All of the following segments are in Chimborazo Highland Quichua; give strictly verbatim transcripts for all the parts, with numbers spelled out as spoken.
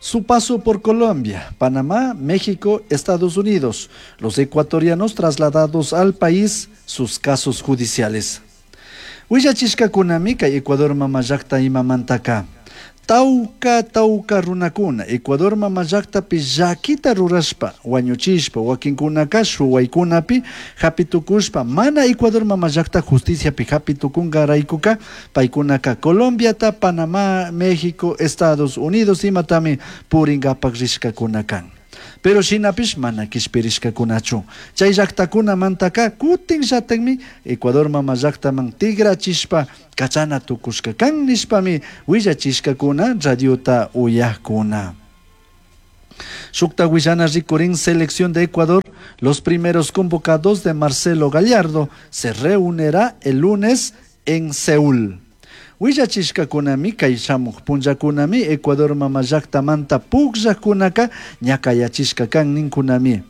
Su paso por Colombia, Panamá, México, Estados Unidos, los ecuatorianos trasladados al país, sus casos judiciales. Willachishkakunami kay Ecuador mama llakta imamantaka. Tauka tauka runakuna Ecuador mama llaktapi llakita rurashpa wañuchishpa wakinkunaka shuwaykunapi hapitukushpa mana Ecuador mama llakta justiciapi hapitukunkaraykuka paykunaka Colombiata, Panamá, México, Estados Unidos imatami purinkapak rishkakuna kan. Pero shinapish mana kishpirishkakunachu. Chay llaktakunamantaka kutin llatakmi Ecuador mama llaktaman tigrachishpa kachana tukushka kan nishpami willachishkakuna radiota uyakuna. Shukta willana rikurin selección de Ecuador, los primeros convocados de Marcelo Gallardo se reunirá el lunes en Seúl. Willachishkakunami kay shamuj punllakunami Ecuador mama llaktamanta pukllakunaka ñakayachishka kan ninkunami.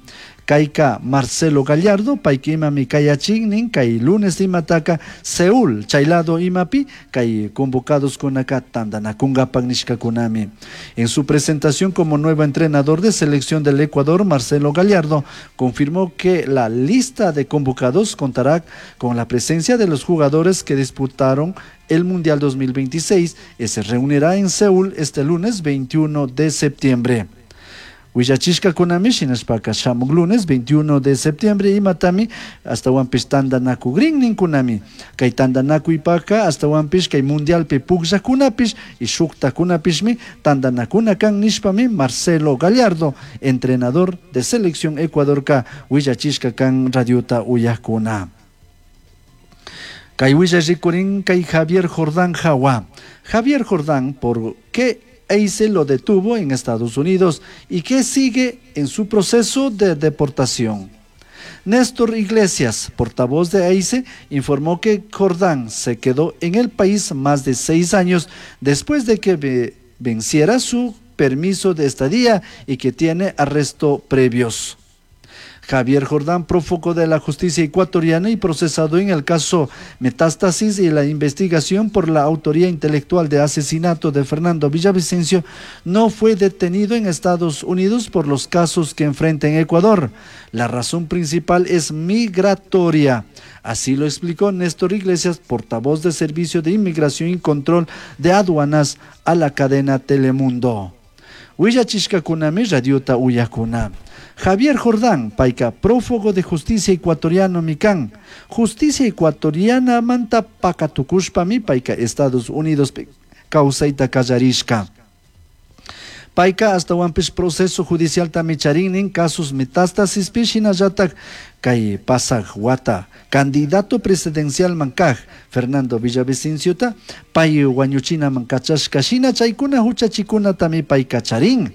Kayka Marcelo Gallardo payka imami kayachin nin kay lunes imataka Seúl chay lado imapi kay convocados kunaka tantanakunkapak nishkakunami. En su presentación como nuevo entrenador de selección del Ecuador, Marcelo Gallardo confirmó que la lista de convocados contará con la presencia de los jugadores que disputaron el Mundial dos mil veintiséis y se reunirá en Seúl este lunes veintiuno de septiembre. Willachishkakunami shinashpaka shamuk lunes veintiuno de septiembre imatami hasta wanpish tantanakugrin ninkunami. Kay tantanakuypaka hasta wanpish kay mundialpi pukllakunapish y shuktakunapishmi tantanakuna kan nishpami Marcelo Gallardo, entrenador de selección Ecuadorka willachishka kan radiota uyakuna. Kay willa rikurin kay Javier Jordán Jawa. Javier Jordán, ¿por qué EICE lo detuvo en Estados Unidos y qué sigue en su proceso de deportación? Néstor Iglesias, portavoz de EICE, informó que Jordán se quedó en el país más de seis años después de que ve-, venciera su permiso de estadía y que tiene arresto previos. Javier Jordán, prófugo de la justicia ecuatoriana y procesado en el caso Metástasis y la investigación por la autoría intelectual de asesinato de Fernando Villavicencio, no fue detenido en Estados Unidos por los casos que enfrenta en Ecuador. La razón principal es migratoria. Así lo explicó Néstor Iglesias, portavoz de Servicio de Inmigración y Control de Aduanas a la cadena Telemundo. Willachishkakunami radiota uyakuna. Javier Jordán, payka prófugo de justicia ecuatoriano mikan. Justicia ecuatoriana manta pakatukushpami payka Estados Unidos kawsayta kallarishka. Payka hasta wanpish proceso judicial tami charin casos metástasis shinallatak kay pasaj wata candidato presidencial mankaj Fernando Villavicenciota pay wañuchina mankachashka shina chaykuna huchachikuna tami payka charin.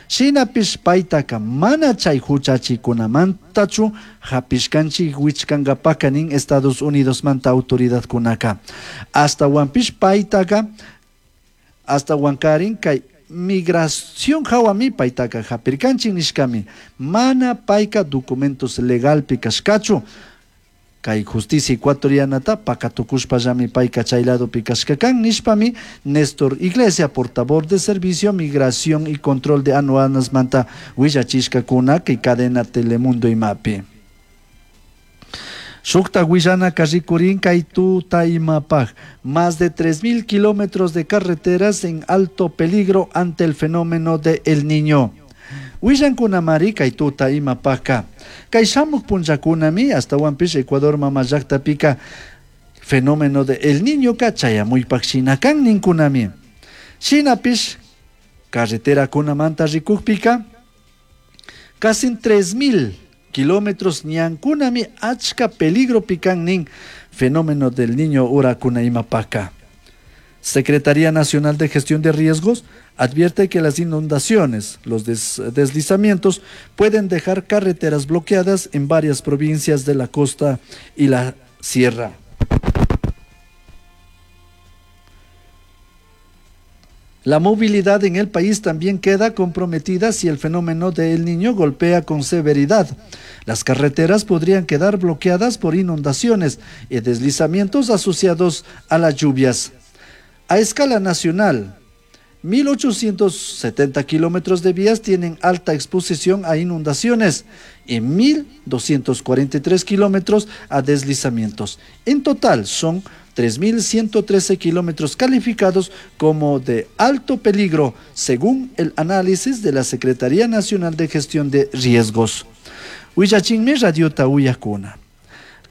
Shinapish paytaka mana chay huchachikunamantachu hapishkanchik wichkankapaka nin Estados Unidos manta autoridadkunaka. Hasta wanpish paytaka hasta wankarin kay migración hawami paytaka hapirkanchik nishkami mana payka documentos legalpi kashkachu. Kay justicia ecuatorianata pakatukushpallami payka chay ladopi kashkakan nishpami Néstor Iglesias, portavoz de Servicio Migración y Control de Aduanas manta willachishkakuna kay cadena Telemundo imapi. Shukta willana karrikurin kay tuta imapaj, más de tres mil kilómetros de carreteras en alto peligro ante el fenómeno de El Niño. Willankunamari kay tuta imapajka. Kay shamuk punllakunami hasta wanpish Ecuador mama llaktapika fenómeno de El Niño ka chayamuypak shinakan ninkunami. Shinapish carretera kunamanta rikukpika casi tres mil kilómetros ñankunami achka peligro pikan nin fenómeno del Niño urakuna imapaka. Secretaría Nacional de Gestión de Riesgos advierte que las inundaciones, los des-, deslizamientos pueden dejar carreteras bloqueadas en varias provincias de la costa y la sierra. La movilidad en el país también queda comprometida si el fenómeno del Niño golpea con severidad. Las carreteras podrían quedar bloqueadas por inundaciones y deslizamientos asociados a las lluvias. A escala nacional, mil ochocientos setenta kilómetros de vías tienen alta exposición a inundaciones y mil doscientos cuarenta y tres kilómetros a deslizamientos. En total son tres mil ciento trece kilómetros calificados como de alto peligro, según el análisis de la Secretaría Nacional de Gestión de Riesgos. Huillachinmi radiota uyakuna.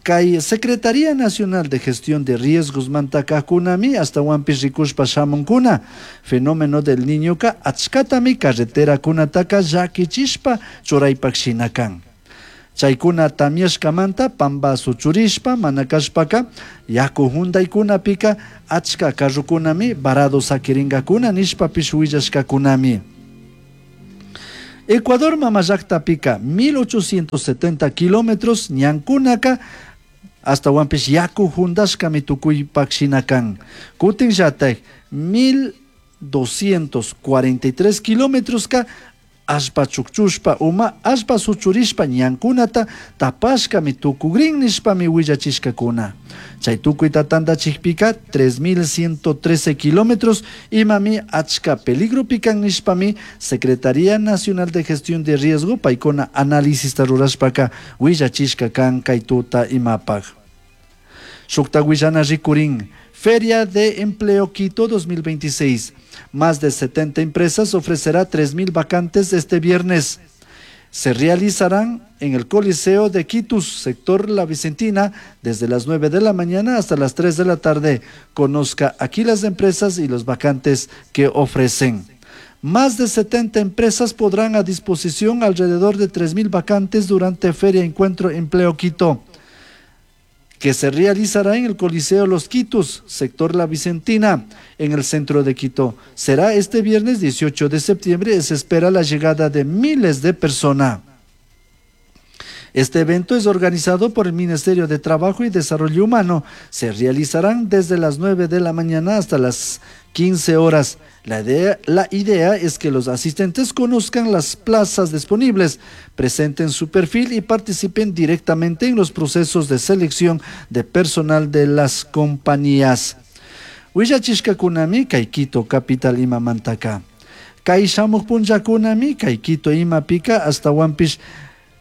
Kay Secretaría Nacional de Gestión de Riesgos mantakajkunami ashtawanpish rikushpa shamunkuna. Fenómeno del Niñoka achkatami carreterakunataka llakichishpa churaypak shina kan. Chaykuna tamyashkamanta pamba suchurishpa mana kashpaka yaku huntaykunapika achka carrokunami varado sakiringakuna nishpapish willashkakunami. Ecuador mamallaqtapika mil ochocientos setenta kilómetros ñankunaka ashtawanpish yaku huntashkami tukuypak shina kan. Kutin llatak mil doscientos cuarenta y tres kilómetroska allpa chukchushpa uma allpa suchurishpa ñankunata tapashkami tukugrin nishpami willachishkakuna. Chay tukuyta tantachikpika tres mil ciento trece kilómetros imami achka peligropi kan nishpami Secretaría Nacional de Gestión de Riesgo paykuna análisista rurashpaka willachishka kan kay tuta imapaj. Shukta willana rikurin. Feria de Empleo Quito dos mil veintiséis. Más de setenta empresas ofrecerá tres mil vacantes este viernes. Se realizarán en el Coliseo de Quitus, sector La Vicentina, desde las nueve de la mañana hasta las tres de la tarde. Conozca aquí las empresas y los vacantes que ofrecen. Más de setenta empresas podrán a disposición alrededor de tres mil vacantes durante Feria Encuentro Empleo Quito, que se realizará en el Coliseo Los Quitus, sector La Vicentina, en el centro de Quito. Será este viernes dieciocho de septiembre y se espera la llegada de miles de personas. Este evento es organizado por el Ministerio de Trabajo y Desarrollo Humano. Se realizarán desde las nueve de la mañana hasta las quince horas. La idea, la idea es que los asistentes conozcan las plazas disponibles, presenten su perfil y participen directamente en los procesos de selección de personal de las compañías. Huillachishkakunami kay Quito capital imamantaka. Kay shamuq punllakunami kay Quito imapika ashtawanpish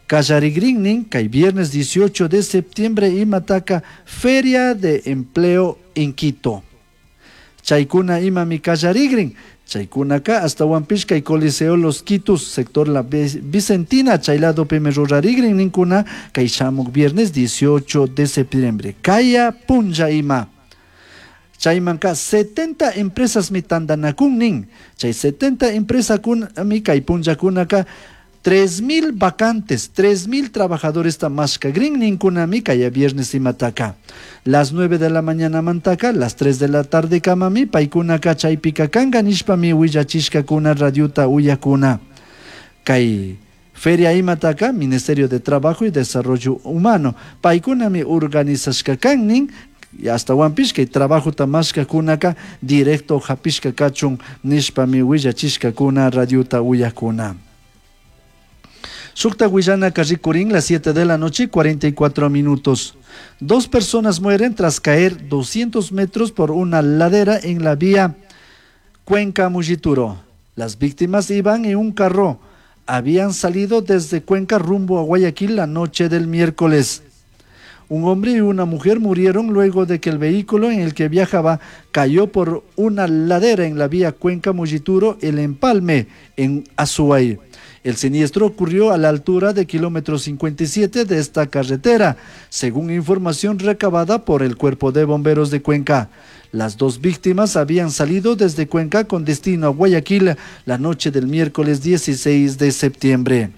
kallarigrinnin kay viernes dieciocho de septiembre imataka Feria de Empleo en Quito. Chaykuna imami kallarigrin, chaykunaka ashtawanpish kay Coliseo Los Quitus, sector La Vicentina, chaylado pimi rurarigrin ninkuna kay shamuq viernes dieciocho de septiembre. Kaya punlla ima. Chaymanka setenta empresas mi tandanakun nin. Chay setenta empresas kun mi kay punllakunaka tres mil vacantes, tres mil trabajadores tamashka green ninkunami kaya viernes imataka. Las nueve de la mañana mantaka, las tres de la tarde kamami, paykunaka chaypika kanga nishpami willachishkakuna radiuta uyakuna. Kay Feria imataka, Ministerio de Trabajo y Desarrollo Humano, paykunami organizashka kan nin, y hasta wampish kay trabajo tamashkakunaka directo hapishka kachun nishpami willachishkakuna radiuta uyakuna. Shukta willana rikurin, las siete de la noche, cuarenta y cuatro minutos. Dos personas mueren tras caer doscientos metros por una ladera en la vía Cuenca-Molleturo. Las víctimas iban en un carro. Habían salido desde Cuenca rumbo a Guayaquil la noche del miércoles. Un hombre y una mujer murieron luego de que el vehículo en el que viajaba cayó por una ladera en la vía Cuenca-Molleturo, El Empalme, en Azuay. El siniestro ocurrió a la altura de kilómetro cincuenta y siete de esta carretera, según información recabada por el Cuerpo de Bomberos de Cuenca. Las dos víctimas habían salido desde Cuenca con destino a Guayaquil la noche del miércoles dieciséis de septiembre.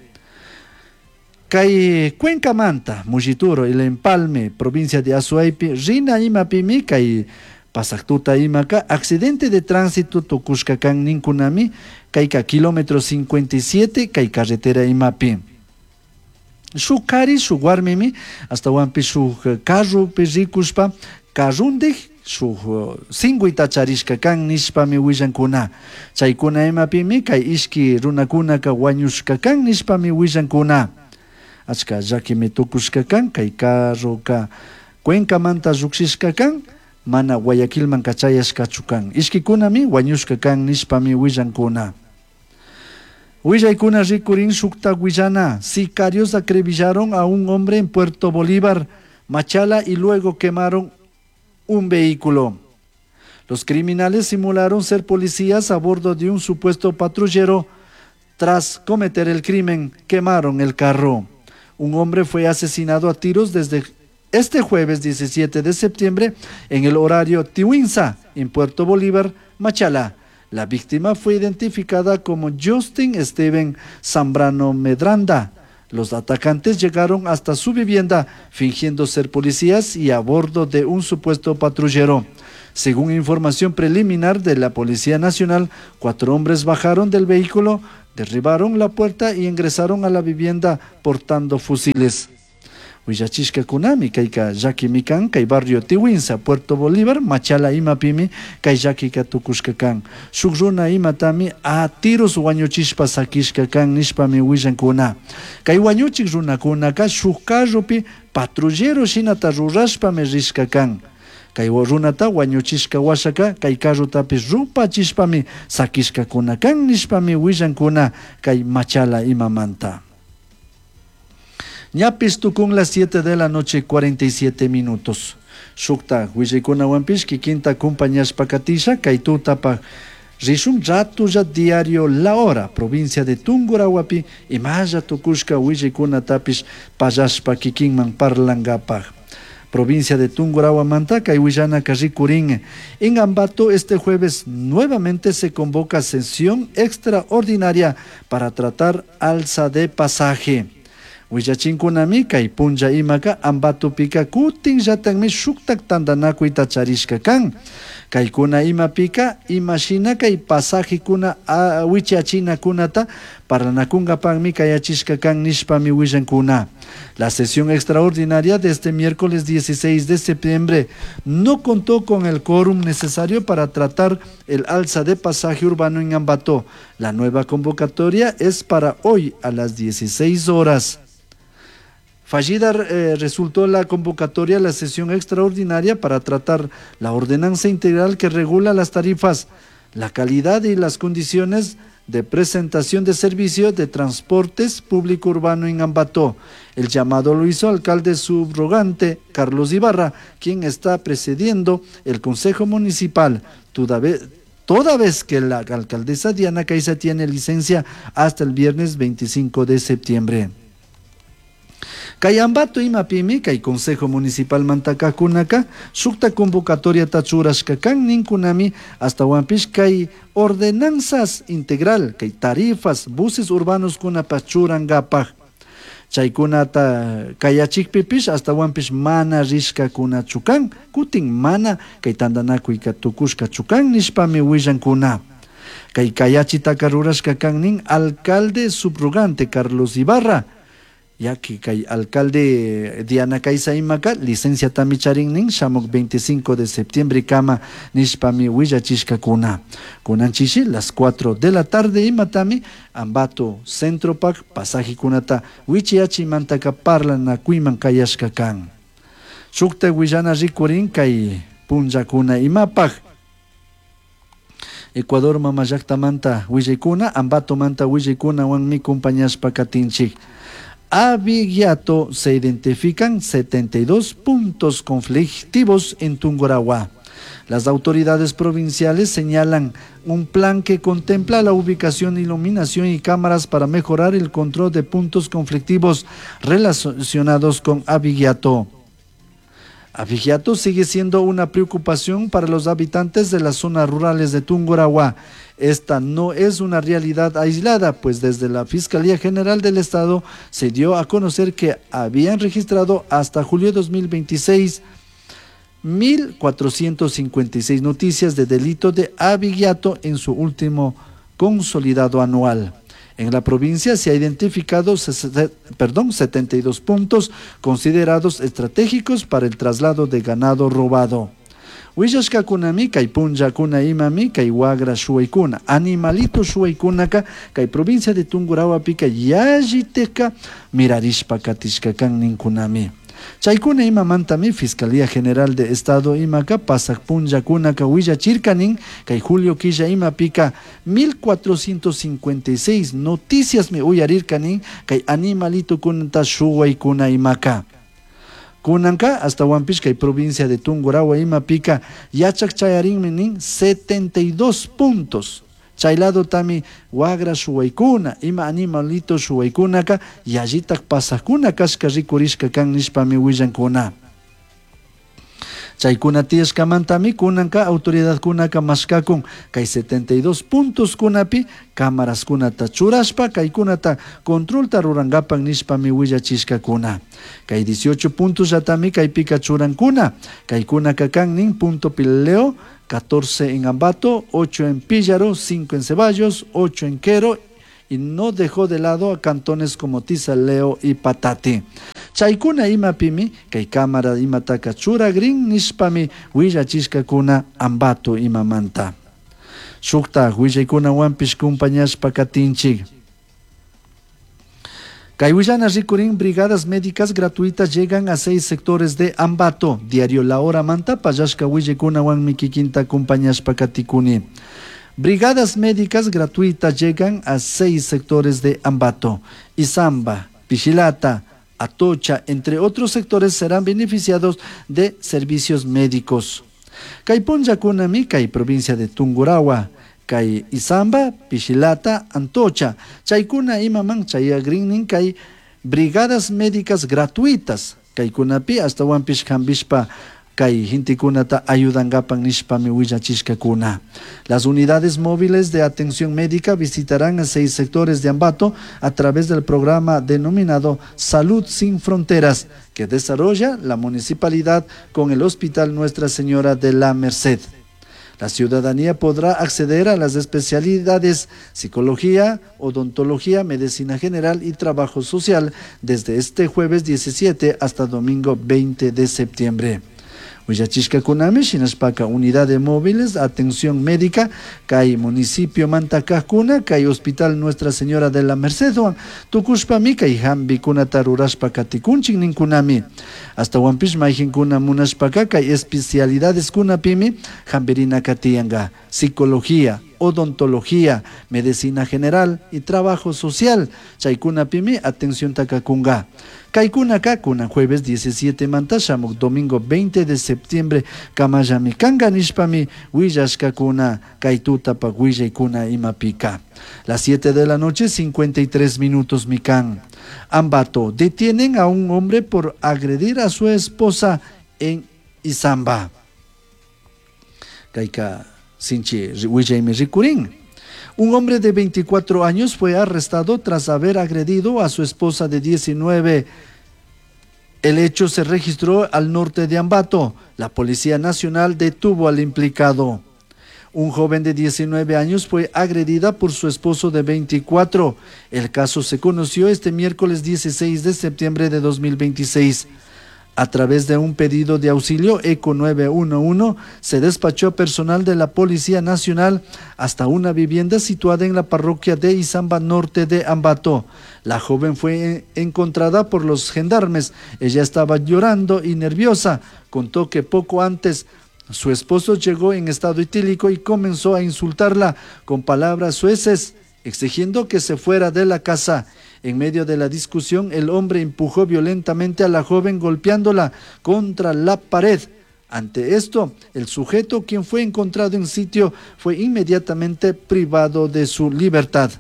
Kay Cuenca Manta, Molleturo, El Empalme, provincia de Azuaypi, Rina Imapimi, kay Pasaktuta imaka, accidente de tránsito tukushkakan ninkunami, kayka kilómetro cincuenta y siete, kay carretera imapi. Shuk kari, shuk warmimi, hasta wampi shuk carro pi rikushpa, carrundij, shuk singuita charishka kan nishpami willankuna. Chaykuna imapimi, kay ishki runakunaka wañushka kan nishpami willankuna. Achka llakimi tukushka kan, kay carroka Cuenca manta llukshishka kan, mana Guayaquilmanka chayashkachu kan. Ishkikunami wañushka kan nishpami willankuna. Willaykuna rikurin shukta willana. Sicarios acribillaron a un hombre en Puerto Bolívar, Machala, y luego quemaron un vehículo. Los criminales simularon ser policías a bordo de un supuesto patrullero. Tras cometer el crimen, quemaron el carro. Un hombre fue asesinado a tiros desde este jueves diecisiete de septiembre en el horario Tiwinza, en Puerto Bolívar, Machala. La víctima fue identificada como Justin Steven Zambrano Medranda. Los atacantes llegaron hasta su vivienda fingiendo ser policías y a bordo de un supuesto patrullero. Según información preliminar de la Policía Nacional, cuatro hombres bajaron del vehículo, derribaron la puerta y ingresaron a la vivienda portando fusiles. Willachishkakunami kayka llakimi kan kay barrio Tiwinza, Puerto Bolívar, Machala imapimi kay llakika tukushka kan. Shuk runa imatami a tiros wañuchishpa sakishka kan nishpami willankuna. Kay wañuchik runakunaka shuk carropi patrullero shinata rurashpami rishka kan. Kay runata wañuchishka washaka kay carrotapish rupachishpami sakishkakuna kan nishpami willankuna kay Machala imamanta. Ñapis tukun las siete de la noche cuarenta y siete minutos. Shukta willaykunawanpish kikinta kumpañashpa katisha kay tutapa rishun ratulla diario La Hora, provincia de Tungurahuapi, imalla tukushka willaykunatapish pallashpa kikinman parlangapaj. Provincia de Tungurahua kay willanaka rikurin. En Ambato este jueves nuevamente se convoca sesión extraordinaria para tratar alza de pasaje. Willachinkunami kay punlla imaka Ambatopika kutin llatanmi shuktak tantanakuyta charishka kan. Kaykuna imapika imashina kay pasajekuna wichachinakunata parlanakunkapakmi kayachishka kan nishpami willankuna. La sesión extraordinaria de este miércoles dieciséis de septiembre no contó con el quórum necesario para tratar el alza de pasaje urbano en Ambato. La nueva convocatoria es para hoy a las dieciséis horas. Fallida, eh, resultó la convocatoria a la sesión extraordinaria para tratar la ordenanza integral que regula las tarifas, la calidad y las condiciones de presentación de servicio de transportes público urbano en Ambato. El llamado lo hizo alcalde subrogante Carlos Ibarra, quien está presidiendo el Consejo Municipal, toda vez, toda vez que la alcaldesa Diana Caiza tiene licencia hasta el viernes veinticinco de septiembre. Kay Ambato imapimi kay Consejo Municipal mantakakunaka shukta convocatoria tachurashka kan ninkunami hasta wampish kay ordenanzas integral kay tarifas buses urbanos kunapa churangapaj. Chaykunata kayachikpipish hasta wampish mana rishkakuna chukan kutin mana kay tantanakuyka tukushka chukan nishpami willankuna. Kay kayachitaka rurashka kan nin alcalde subrogante Carlos Ibarra, ya que kay alcalde Diana Caiza imaka licencia tami charin nin shamuk veinticinco de septiembre kama nishpami willachishkakuna. Kunanchishi las cuatro de la tarde imatami Ambato Centro Pak pasaje kunata wichiachi mantaka parlanakuyman kayashka kan. Shukta willana rikurin kay punllakuna imapaj. Ecuador mama llaktamanta willaykuna Ambato manta willaykuna wanmi kumpañashpa katinchik. Abigato se identifican setenta y dos puntos conflictivos en Tungurahua. Las autoridades provinciales señalan un plan que contempla la ubicación, iluminación y cámaras para mejorar el control de puntos conflictivos relacionados con Abigato. Abigato sigue siendo una preocupación para los habitantes de las zonas rurales de Tungurahua. Esta no es una realidad aislada, pues desde la Fiscalía General del Estado se dio a conocer que habían registrado hasta julio de dos mil veintiséis mil cuatrocientos cincuenta y seis noticias de delito de abigeato en su último consolidado anual. En la provincia se ha identificado perdón, setenta y dos puntos considerados estratégicos para el traslado de ganado robado. Willashkakunami kay punllakuna imami kay wagra shuwaykuna animalito shuwaykunaka kay provincia de Tungurahuapika yalliteka mirarishpa katishka kan ninkunami. Chaykuna imamantami Fiscalía General de Estado imaka pasak punllakunaka willachirkanin kay julio killa imapika mil cuatrocientos cincuenta y seis noticiasmi uyarirkanin kay animalitokunata shuwaykuna imaka. Kunanka astawanpish kay provincia de Tungurahua imapika yachak chayarinmi nin setenta y dos puntos. Chay lado tami wagra shuwaykuna, ima animalito shuwaykunaka yallitak pasakuna kashka rikurishka kan nishpami willankuna. Chaykuna tiyashkamantami kunanka autoridadkunaka mashkakun kay setenta y dos puntos kunapi cámaraskunata churashpa kaykunata controlta rurankapak nishpami willachishkakuna. Kay dieciocho puntos yatami kaypika churankuna. Kaykunaka kan nin punto Pileo, catorce en Ambato, ocho en Píllaro, cinco en Ceballos, ocho en Quero y no dejó de lado a cantones como Tisaleo y Patate. Chaykuna imapimi, kay cámara imataka churagrin nishpami willachishkakuna Ambato imamanta. Shukta willaykunawanpish kumpañashpa katinchik. Kay willana rikurin brigadas médicas gratuitas llegan a seis sectores de Ambato. Diario La Hora manta pallashka willaykunawanmi kikinta kumpañashpa katikuni. Brigadas médicas gratuitas llegan a seis sectores de Ambato. Izamba, Pichilata, Atocha, entre otros sectores serán beneficiados de servicios médicos. Kay punllakunami kay provincia de Tungurahua, kay Izamba, Pichilata, Antocha, chaykuna imaman chayagrinnin kay brigadas médicas gratuitas, kaykunapi astawanpish hambishpa kay gentekunata ayudangapan nishpami willachishkakuna. Las unidades móviles de atención médica visitarán a seis sectores de Ambato a través del programa denominado Salud Sin Fronteras, que desarrolla la municipalidad con el Hospital Nuestra Señora de la Merced. La ciudadanía podrá acceder a las especialidades psicología, odontología, medicina general y trabajo social desde este jueves diecisiete hasta domingo veinte de septiembre. Willachishkakunami shinashpaka unidad de móviles, atención médica, kay municipio Mantacajuna, kay Hospital Nuestra Señora de la Merced, tukushpami kay hambikunata rurashpa katikunchik ninkunami. Hasta wampish mayjinkuna munashpaka kay especialidades kunapimi hambirina katiyanga, psicología, odontología, medicina general y trabajo social, chaykunapimi atención takakunga. Kaykunaka kuna jueves diecisiete manta shamuk domingo veinte de septiembre kamayami kanga nishpami willashkakuna kay tutapa willaykuna imapika. Las siete de la noche cincuenta y tres minutos mikan. Ambato, detienen a un hombre por agredir a su esposa en Izamba. Kayka sinchi willaymi rikurin. Un hombre de veinticuatro años fue arrestado tras haber agredido a su esposa de diecinueve. El hecho se registró al norte de Ambato. La Policía Nacional detuvo al implicado. Un joven de diecinueve años fue agredida por su esposo de veinticuatro. El caso se conoció este miércoles dieciséis de septiembre de dos mil veintiséis. A través de un pedido de auxilio Eco nueve uno uno se despachó personal de la Policía Nacional hasta una vivienda situada en la parroquia de Izamba Norte de Ambato. La joven fue encontrada por los gendarmes. Ella estaba llorando y nerviosa. Contó que poco antes su esposo llegó en estado etílico y comenzó a insultarla con palabras soeces, exigiendo que se fuera de la casa. En medio de la discusión, el hombre empujó violentamente a la joven golpeándola contra la pared. Ante esto, el sujeto, quien fue encontrado en sitio, fue inmediatamente privado de su libertad.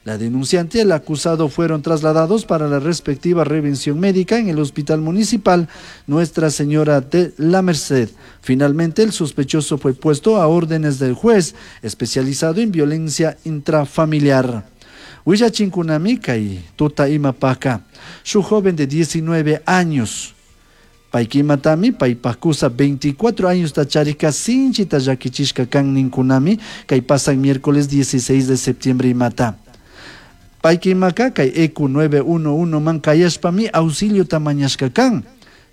La denunciante y el acusado fueron trasladados para la respectiva revención médica en el Hospital Municipal Nuestra Señora de la Merced. Finalmente, el sospechoso fue puesto a órdenes del juez especializado en violencia intrafamiliar. Willachinkunami kay tuta imapaka. Su joven de diecinueve años. Paykimatami paypakusa veinticuatro años tacharika sinchita llakichishka kan ninkunami kay pasan miércoles dieciséis de septiembre imata. Paykimaka kay Eco nueve uno uno man kayashpami auxilio tamañashka kan.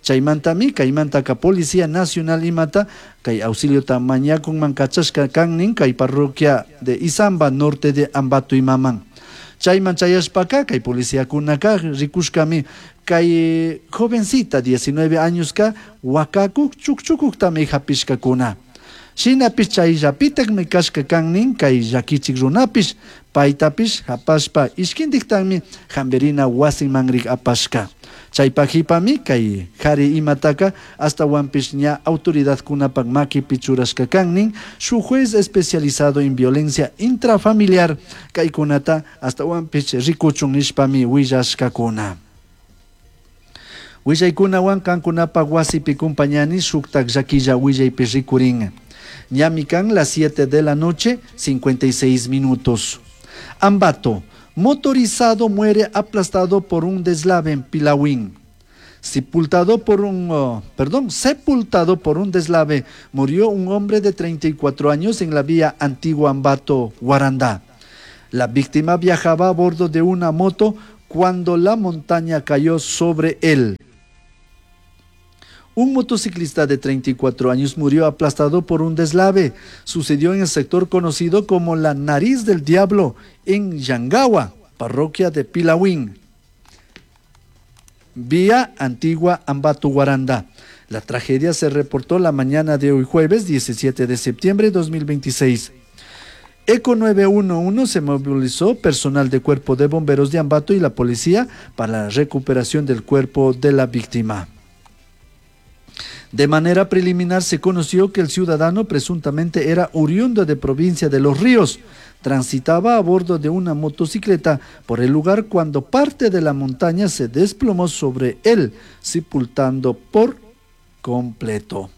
Chaymantami kaymantaka Policía Nacional imata kay auxilio tamañakun man kachashka kan nin kay parroquia de Izamba norte de Ambato imaman. Chayman chayashpaka kay policiakunaka rikushkami Kay jovencita diecinueve añoska wakakuk chukchukuktami hapishkakuna. Shinapish chayllapitakmi kashka kan nin kay llakichik runapish, paytapish hapashpa ishkintiktami hampirina wasinmanrik apashka. Chaypajipami kay jari imataka ashtawanpish ña autoridadkunapak makipi churashka kan nin shuk juez especializado en violencia intrafamiliar kaykunata ashtawanpish rikuchun nishpami willashkakuna. Willaykunawan kankunapak wasipi kumpañani shuktak llakilla willaypi rikurin. Ñami kan las siete de la noche, cincuenta y seis minutos. Ambato, motorizado muere aplastado por un deslave en Pilahuín. Sepultado por un, oh, perdón, sepultado por un deslave, murió un hombre de treinta y cuatro años en la vía Antigua Ambato, Guarandá. La víctima viajaba a bordo de una moto cuando la montaña cayó sobre él. Un motociclista de treinta y cuatro años murió aplastado por un deslave. Sucedió en el sector conocido como la Nariz del Diablo, en Yangawa, parroquia de Pilahuín. Vía Antigua Ambato Guaranda. La tragedia se reportó la mañana de hoy jueves diecisiete de septiembre de dos mil veintiséis. Eco nueve uno uno se movilizó personal de cuerpo de bomberos de Ambato y la policía para la recuperación del cuerpo de la víctima. De manera preliminar se conoció que el ciudadano presuntamente era oriundo de provincia de Los Ríos. Transitaba a bordo de una motocicleta por el lugar cuando parte de la montaña se desplomó sobre él, sepultando por completo.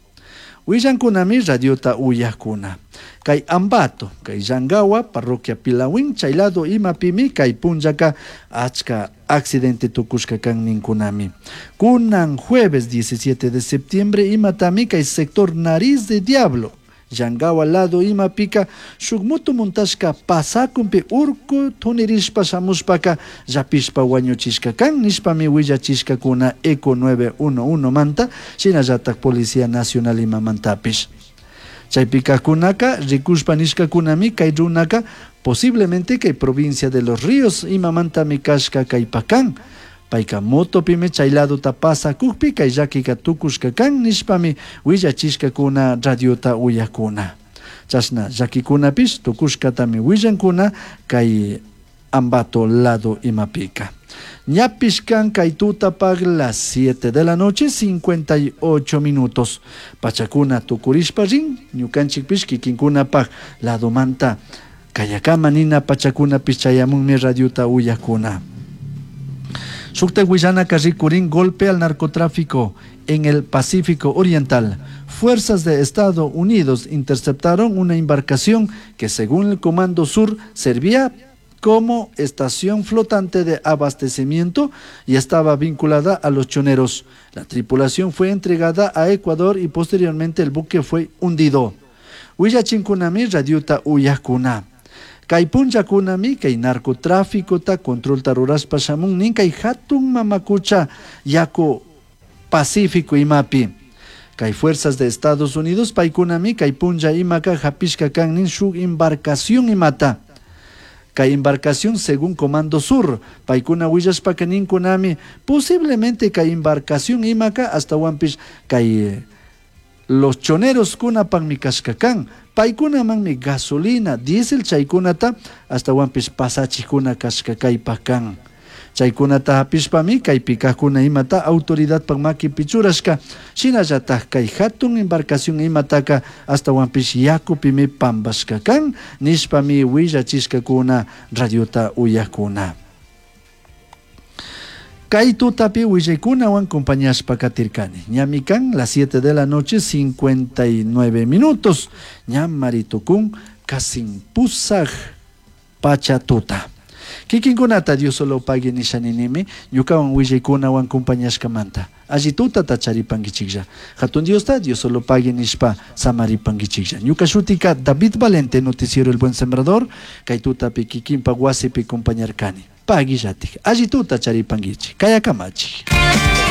Willankunami radiota uyakuna. Kay Ambato, kay Yangawa, parroquia Pilahuín, chay lado imapimi kay punllaka achka accidente tukushka kan ninkunami. Kunan jueves diecisiete de septiembre imatami kay sector Nariz de Diablo, Yangawa lado imapika shuk moto montashka pasakunpi urku tunirishpa shamushpaka llapishpa wañuchishka kan nishpami willachishkakuna Eco nueve uno uno manta, shinallatak Policía Nacional imamantapish. Chaypikakunaka rikushpa nishkakunami kay runaka posiblemente kay provincia de Los Ríos imamantami kashka kaypakan. Payka motopimi chay ladota pasakukpi kay llakika tukushka kan nishpami willachishkakuna radiota uyakuna. Chashna llakikunapish tukushkatami willankuna kay Ambato lado imapika. Ñapish kan kay tutapaq las siete de la noche cincuenta y ocho minutos. Pachakuna tukurishpa rin, ñukanchikpish kikinkunapaq ladomanta kayakama nina pachakunapish chayamunmi radiota uyakuna. Shuktak willanaka rikurin golpe al narcotráfico en el Pacífico Oriental. Fuerzas de Estados Unidos interceptaron una embarcación que, según el Comando Sur, servía como estación flotante de abastecimiento y estaba vinculada a los choneros. La tripulación fue entregada a Ecuador y posteriormente el buque fue hundido. Willachinkunami radiota uyakuna. Kay punllakunami kay narcotráfico ta controlta rurashpa shamun nin kay hatun mamakucha yaku Pacífico imapi. Kay fuerzas de Estados Unidos paykunami kay punlla imaka hapishka kan nin shuk embarcación imata. Kay embarcación, según Comando Sur, paykuna willashpaka ninkunami posiblemente kay embarcación imaka ashtawanpish kay los choneros kunapakmi kashka kan. Paykunamanmi gasolina, diésel chaykunata ashtawanpish pasachikuna kashka kaypak kan. Chaykunata hapishpami kaypi kajkuna imata autoridadpak makipi churashka. Shinallatak kay hatun embarcación imataka ashtawanpish yakupimi pampashka kan nishpami willachishkakuna radiota uyakuna. Kay tutapi willaykunawan compañashpa katirkani. Ñami kan las siete de la noche cincuenta y nueve minutos. Ñam maritukun kasin pusaj pacha tuta. Kikinkunata Dios solo pague nishaninimi, ñukawan willaykunawan compañashkamanta. Alli tutata charipankichiklla. Hatun Diosta Dios solo pague nishpa samaripankichiklla. Ñuka shutika David Valente, noticiero El Buen Sembrador, kay tutapi kikinpa wasipi compañarkani. Paguillatik. Alli tuta charipankichik. Kayakamachi.